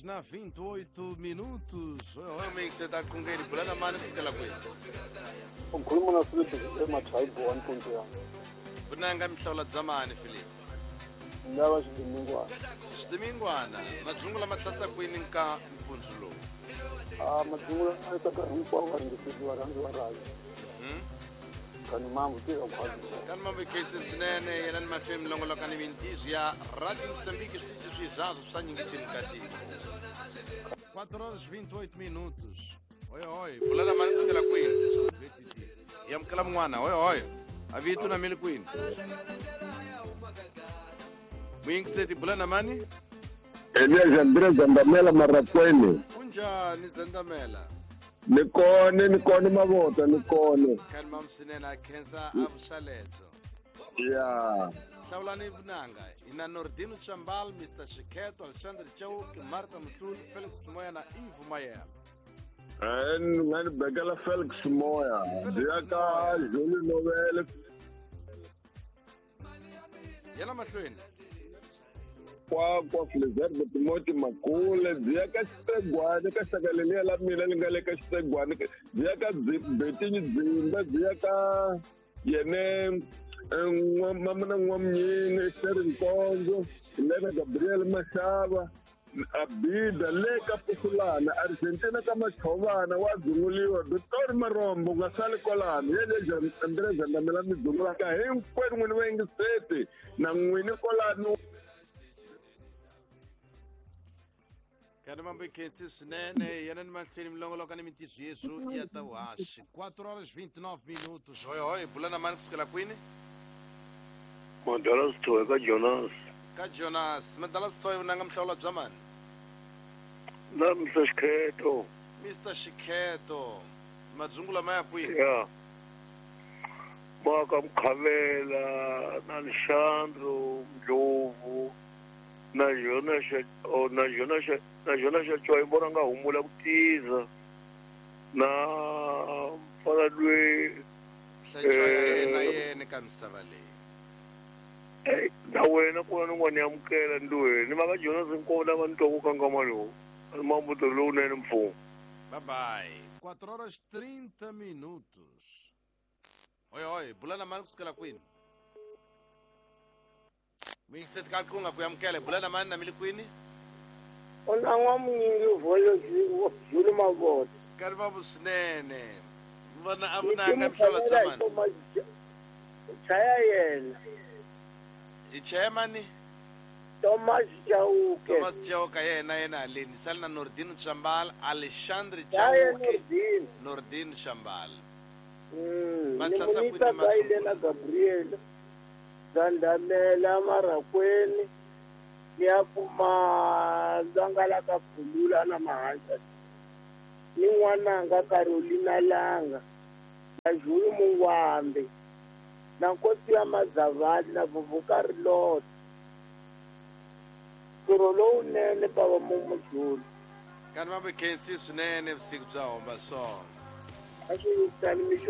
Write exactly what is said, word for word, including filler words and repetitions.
horas na vinte e oito minutos. Oi, você tá com ele bulana mani kusukela kwihi? Ukhuluma na Philip eMatribe one point one. Vunanga mihlawula bya mani Philip? Lava xidimingwana. Xidimingwana, madzungu lama tlasa kwini nka mpundzu lowu? Ah, madzungu lama tlasa hinkwavo va ringiseriwa varhandzi va rhavi. Mhm. Kani mambo tirha khwazi. Kani mambo khensi swinene yena ni mahlweni milongoloka ni mintizo ya Radio Moçambique switichi swizazo swa nyingitini katiko. quatro horas vinte e oito minutos. Oi, oi, bulana mani kusukela kwini? Yamukela mun'wana, oi, oi. Avito na mili kwini? Muyingiseti bulana mani? Elias Andrés Zandamela Marakwene. Kunjani Zandamela? Ni kone, ni kone mavota, ni kone. Kani mamswinene a khensa a vuxaledzo. Yeah. Hlawulani vunanga ina Nordino Chambal, Mister Shikheto, Alexandre Chauke, Martha Mhluli, Felix Moya na Ivo Mayela. Eh, nga ni bekela Felix Moya. Byi ka Julie Novele. Yena mahlweni. Kwa kwa Flizerbe Timothy Makule, byi ya ka Xitegwani ka xaka leliya la mina li nga le ka Xitegwani, byi ya ka Betinyi Dzimba, byi ya ka yene Mamana N'wamnyini, Sherry Nkonzo, Lena Gabriel Mashava, Abida le ka Pusulana, Argentina ka Machovana wa dzunguliwa, Doctor Marombo nga sali kwalano, yele Andrés Zandamela mi dzungulaka hinkwenu n'wini va yingiseti na n'wini kwalano. Kani mambo khensi swinene yena ni mahlweni milongoloka ni mintizo yesu ya ta vuhaxi. quatro horas vinte e nove minutos. Oi, oi, bulana mani kusukela kwini? Madala Sithoe ka Jonas. Ka Jonas, Madala Sithoe vunanga mihlawula bya mani? Na Mister Shikheto. Mister Shikheto, madzungu lama ya kwini? Yeah. Maka Mkhavela, na Alexandro Ndlovu, na Jonas, oh, na Jonas, na Jonas Choi vona nga humula ku tiza. Na mfana lwe Hlayisa na yena ka misava leyi. Eh, na wena ku na n'wana amukela ndweni ni maka Jonas Nkomo lava ni twa ku kangama lowu. Mambo lowunene mfumo. Bye bye. quatro horas trinta minutos. Oi, oi, bulana mani kusukela kwini? Muyingiseti ka kunga ku amukela bulana mani na mili kwini? Ona n'wamunyingi vholo Julu Mavota. Kani mambo swinene. Vona a vunanga mihlawula bya mani? Chaya yena. I chaya mani? Thomas Chauke. Thomas Chauke yena yena haleni sali na Nordino Chambal, Alexandre Chauke, Nordino Chambal. Mm, Matlasa ni kwini Munita matsungula? na Gabriel Zandamela Marakwene ni ya kuma Zangala ka Phulula na Mahasa ni n'wananga Carolina Langa na Julu Mungwambe na Nkosi ya Mazavali na Vuvuka Rilota ntirho lowunene bava Mumujulu. Kani mambo khensi swinene vusiku bya homba swona. A swi yisani mixo.